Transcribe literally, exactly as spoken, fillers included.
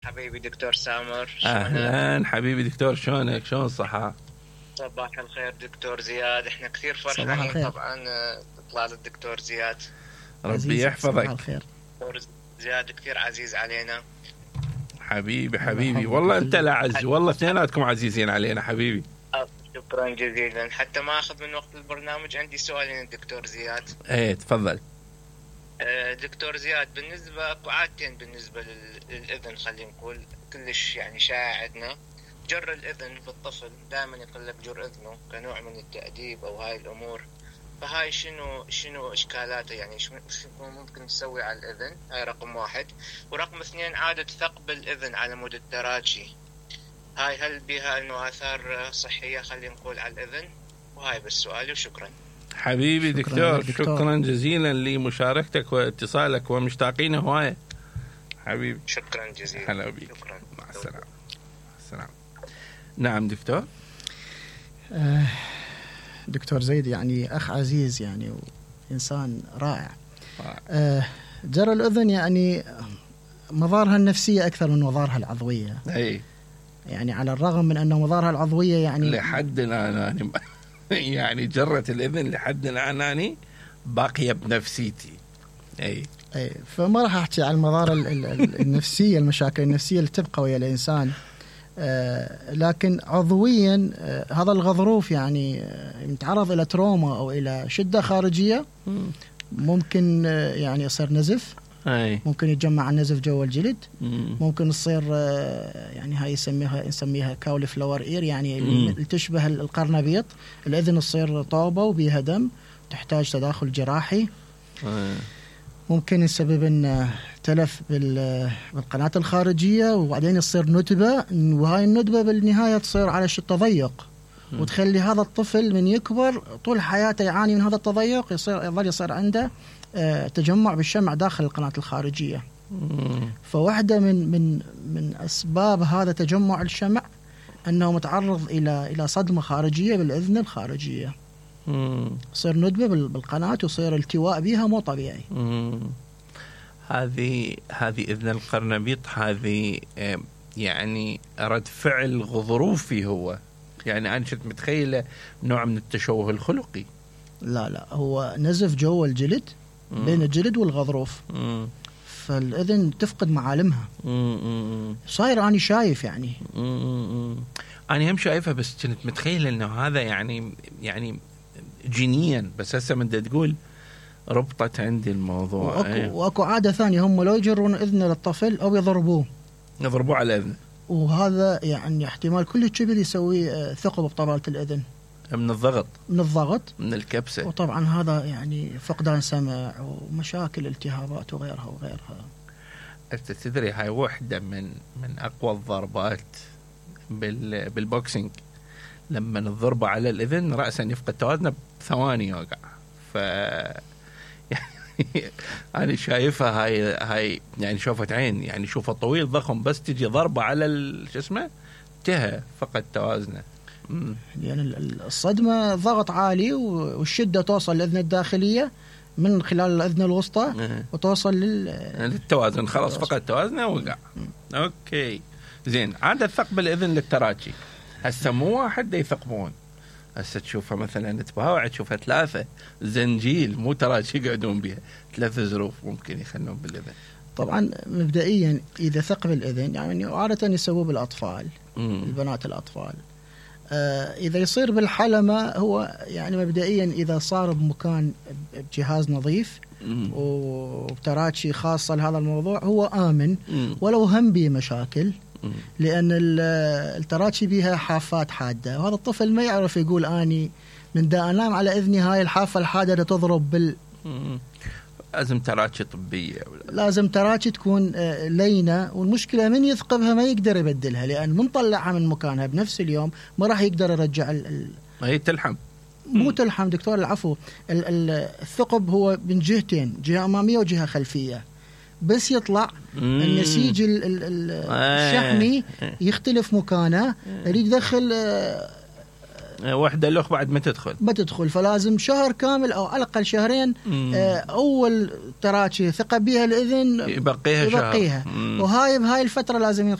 حبيبي دكتور سامر، اهلا حبيبي دكتور، شلونك؟ شلون الصحة؟ صباح الخير دكتور زياد، احنا كثير فرحانين طبعا اطلال الدكتور زياد، ربي يحفظك. صباح الخير دكتور زياد، كثير عزيز علينا حبيبي حبيبي والله انت الأعز، والله اثنيناتكم عزيزين علينا حبيبي. شكرا جزيلا. حتى ما اخذ من وقت البرنامج، عندي سؤالين الدكتور زياد. ايه تفضل. دكتور زياد، بالنسبة اكو عادتين بالنسبة للإذن، خلينا نقول كلش يعني شائع عندنا، جر الإذن بالطفل، دائما يقول لك جر إذنه كنوع من التأديب أو هاي الأمور، فهاي شنو شنو إشكالاته؟ يعني شو ممكن نسوي على الإذن؟ هاي رقم واحد. ورقم اثنين، عادة ثقب الإذن على مود التراتشي، هاي هل بها إنه آثار صحية خلينا نقول على الإذن؟ وهاي بس سؤالي، وشكرا حبيبي دكتور. شكرا, شكرا جزيلا لمشاركتك واتصالك، ومشتاقين هواية حبيبي. شكرا جزيلا. هلا بيك. مع السلامة. السلام. نعم دكتور. آه دكتور زيد يعني أخ عزيز يعني وإنسان رائع. آه جرى الأذن يعني مظاهرها النفسية أكثر من مظاهرها العضوية. أي. يعني على الرغم من أن مظاهرها العضوية يعني لحد الآن يعني جرت الإذن لحد الآن أنا باقية بنفسيتي. أي. أي فما راح أحكي عن المظاهر النفسية، المشاكل النفسية اللي تبقى ويا الإنسان، آه لكن عضويا آه هذا الغضروف يعني آه يتعرض إلى تروما أو إلى شدة خارجية، ممكن آه يعني يصير نزف. أي. ممكن يتجمع النزف جوا الجلد. مم. ممكن تصير آه يعني هاي يسميها نسميها كاولي فلور إير، يعني اللي تشبه القرنبيط، الإذن تصير طوبة وبيها دم، تحتاج تداخل جراحي. أي. ممكن يسبب ان تلف بالقناة الخارجية، وبعدين يصير ندبة، وهاي الندبة بالنهاية تصير على شيء تضيق، وتخلي هذا الطفل من يكبر طول حياته يعاني من هذا التضيق، يصير يظل يصير عنده تجمع بالشمع داخل القناة الخارجية. فواحدة من من من أسباب هذا تجمع الشمع أنه متعرض إلى إلى صدمة خارجية بالإذن الخارجية، يصير ندبة بالقناة ويصير التواء بها مو طبيعي. هذه هذه إذن القرنبيط، هذه يعني رد فعل غضروفي هو، يعني أنا كنت متخيلة نوع من التشوه الخلقي. لا لا، هو نزف جوا الجلد مم. بين الجلد والغضروف، مم. فالإذن تفقد معالمها. صاير أنا شايف يعني مم. أنا هم شايفها، بس كنت متخيلة إنه هذا يعني يعني جينيا، بس هسه من دا تقول ربطت عندي الموضوع. وأكو, أيه. وأكو عادة ثانية، هم لو يجرون إذن للطفل أو يضربوه يضربوه على الإذن، وهذا يعني احتمال كل كبير يسوي ثقب بطبلة الإذن من الضغط من الضغط من الكبسة، وطبعا هذا يعني فقدان سمع ومشاكل التهابات وغيرها وغيرها. أنت تدري هاي واحدة من من أقوى الضربات بال بالبوكسينج، لما نضربه على الإذن رأسا يفقد توازنه بثواني يوقع. ف يعني أنا شايفها هاي هاي يعني شوفت عين، يعني شوفه طويل ضخم، بس تجي ضربة على شو اسمه انتهى، فقد توازنه. يعني الصدمة ضغط عالي والشدة توصل للأذن الداخلية من خلال الأذن الوسطى وتوصل لل... للتوازن، خلاص فقد توازنه وقع. أوكي زين. عادة ثقب الإذن للتراتشي، هسه مو واحد يثقبون، هسه تشوفها مثلا تباوع تشوفها ثلاثة زنجيل، مو تراتشي يقعدون بها، ثلاث ظروف ممكن يخلون بالإذن. طبعا مبدئيا إذا ثقب الإذن يعني عادة يسووه بالأطفال، مم. البنات الأطفال. آه إذا يصير بالحلمة هو يعني مبدئيا إذا صار بمكان بجهاز نظيف مم. وبتراتشي خاصة لهذا الموضوع هو آمن، مم. ولو هم بيه مشاكل، لأن التراتشي بيها حافات حادة، وهذا الطفل ما يعرف يقول أني من دا أنام على إذني هاي الحافة الحادة تضرب بال. لازم تراتشي طبية ولا؟ لازم تراتشي تكون لينة، والمشكلة من يثقبها ما يقدر يبدلها، لأن من طلعها من مكانها بنفس اليوم ما راح يقدر يرجع ال... هي تلحم. مو تلحم دكتور، العفو، الثقب هو من جهتين، جهة أمامية وجهة خلفية، بس يطلع مم. النسيج الشحمي يختلف مكانه، يريد يدخل وحده الاخ بعد ما تدخل بتدخل، فلازم شهر كامل او على الاقل شهرين. آه اول تراكي ثقه بها الاذن يبقيها, يبقيها. شهر. وهاي بهاي الفتره لازم